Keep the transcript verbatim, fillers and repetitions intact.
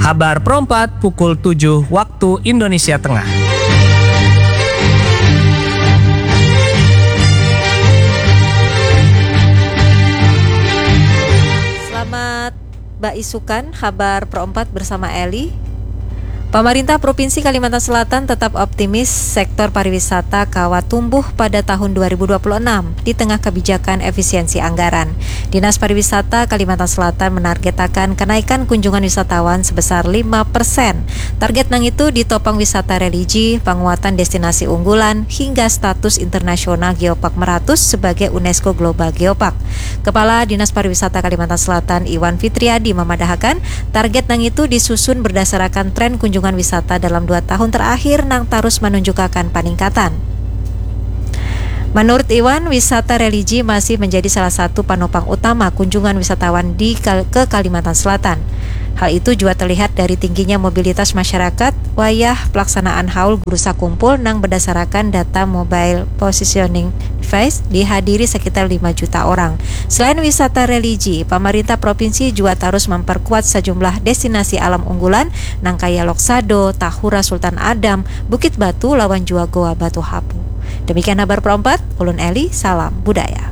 Habar perempat pukul tujuh waktu Indonesia Tengah. Selamat baisukan, habar perempat bersama Eli. Pemerintah Provinsi Kalimantan Selatan tetap optimis sektor pariwisata kawa tumbuh pada tahun dua ribu dua puluh enam di tengah kebijakan efisiensi anggaran. Dinas Pariwisata Kalimantan Selatan menargetakan kenaikan kunjungan wisatawan sebesar lima persen. Target nang itu ditopang wisata religi, penguatan destinasi unggulan, hingga status internasional Geopark Meratus sebagai UNESCO Global Geopark. Kepala Dinas Pariwisata Kalimantan Selatan Iwan Fitriadi memadahakan, target nang itu disusun berdasarakan tren kunjungan wisata dalam dua tahun terakhir nang tarus menunjukakan paningkatan. Menurut Iwan, wisata religi masih menjadi salah satu panopang utama kunjungan wisatawan di Kal- ke Kalimantan Selatan. Hal itu juga terlihat dari tingginya mobilitas masyarakat wayah pelaksanaan haul guru sakumpul nang berdasarakan data mobile positioning device dihadiri sekitar lima juta orang. Selain wisata religi, pemerintah provinsi juga terus memperkuat sejumlah destinasi alam unggulan nang kaya Loksado, Tahura Sultan Adam, Bukit Batu, lawan jua Goa Batu Hapu. Demikian habar perempat, ulun Eli, salam budaya.